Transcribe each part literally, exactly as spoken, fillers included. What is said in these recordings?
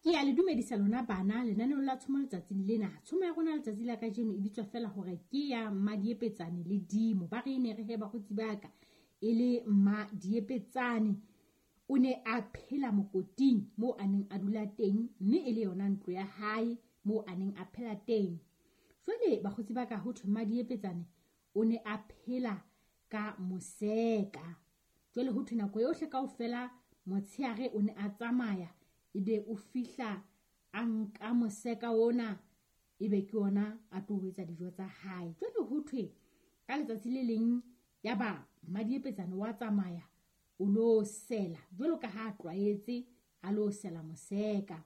Ke a le dumedisa lona bana lenaneong la tshomo letsatsing lena. Tshomo ya rona letsatsi la kajeno e bitswa fela hore ke ya Mmadiepetsane le Dimo. Ba re ne re he bakgotsi ba ka e le Mmadiepetsane o ne a phela mokoting moo a neng a dula teng, mme e le yona ntlo ya hae moo a neng a phela teng. Jwale bakgotsi ba ka ho thwe Mmadiepetsane o ne a phela ka moseka. Jwale ho thwe nako yohle kaofela motshehare o ne a tsamaya, ebe o fihla a nka moseka ona, ebe ke ona a tlo etsa dijo tsa hae. Jwale ho thwe ka letsatsi le leng yaba Mmadiepetsane wa tsamaya o lo sela jwalo ka ha a tlwaetse, a lo sela moseka.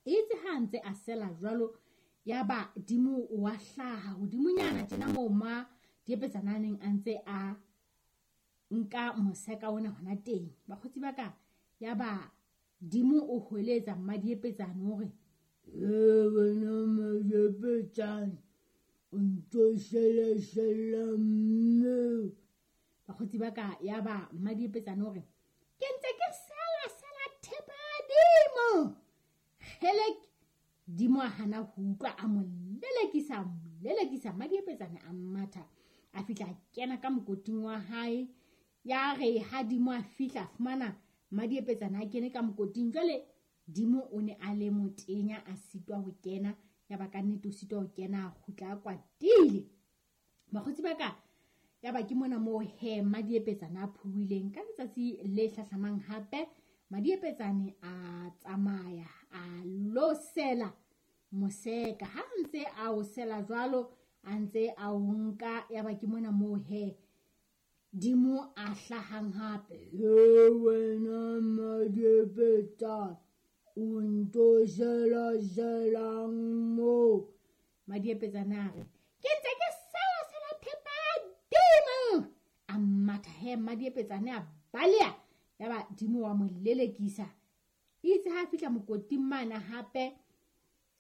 Itse ha ntse a sela jwalo, yaba Dimo wa hlaha hodimonyana tjena moo Mmadiepetsane a neng a ntse a nka moseka ona hona teng. Bakgotsi ba ka, yaba Dimo o hweletsa Mmadiepetsane hore, "E wena Mmadiepetsane, o ntso sela-sela mme." Bakgotsi ba ka, yaba Mmadiepetsane hore, "Ke ntse ke sela-sela thepa ya Dimo." Kgelek, Dimo a hana ho utlwa, a mo lelekisa, mo lelekisa. Mmadiepetsane a matha, a fihla a kena ka mokoting wa hae. Ya re ha Dimo a fihla, a fumana Mmadiepetsane a kene ka mokoting. Jwale Dimo o ne a le motenya, a sitwa ho kena. Yaba ka nnete o sitwa ho kena, a kgutla a kwatile. Bakgotsi ba ka, yaba ke mona moo he Mmadiepetsane a phuwileng. Ka letsatsi le hlahlamang hape Mmadiepetsane a tsamaya a lo sela moseka. Ha ntse a o sela jwalo, a ntse a o nka, yaba ke mona moo he Dimo a hlahang hape. "E wena Mmadiepetsane, o ntso sela-selang moo?" Mmadiepetsane a re, "Ke ntse ke sela-sela thepa ya Dimo." A matha he Mmadiepetsane a baleha. Yaba Dimo wa mo lelekisa. Itse ha fihla mokoting mane hape,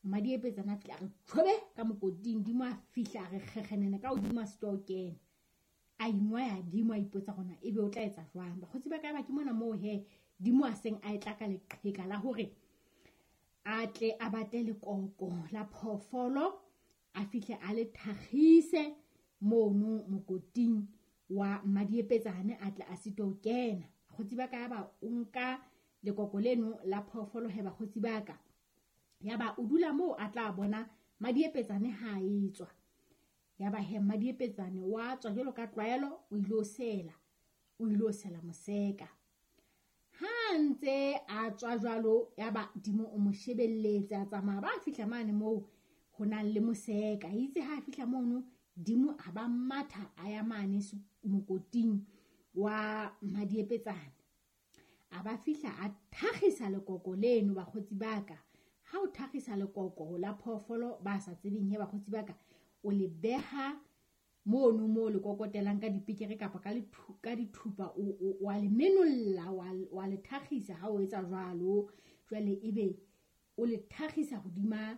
Mmadiepetsane a fihla a re tjhobe ka mokoting. Dimo a fihla a re kgekgenene ka hodimo, a sitwa ho kena. A ingwaya Dimo, a ipotsa hore ebe o tla etsa jwang. Bakgotsi ba ka, ba ke mona moo he Dimo a seng a etla ka leqheka la hore a tle a batle lekoko la phoofolo, a fihle a le thakgise mono mokoting wa Mmadiepetsane, a tle a sitwe ho kena. Bakgotsi ba ka, yaba o nka lekoko leno la phoofolo he bakgotsi ba ka, yaba o dula moo a tla bona Mmadiepetsane ha a etswa. Yaba he Mmadiepetsane wa tswa jwalo ka tlwaelo, o ilo sela, o ilo sela moseka. Ha ntse a tswa jwalo, yaba Dimo o mo shebelletse, a tsamaya ba fihla mane moo ho nang le moseka. Itse ha fihla mono, Dimo a ba matha a ya mane mokoting wa Mmadiepetsane. A ba fihla a thakgisa lekoko leno bakgotsi ba ka. Ha o thakgisa lekoko la phoofolo ba sa tsebeng he bakgotsi ba ka, o le beha mono moo le kokotelang ka dipikere kapa ka ka dithupa, o wa le menolla, wa le thakgisa ha o etsa jwalo. Jwale ebe o le thakgisa hodima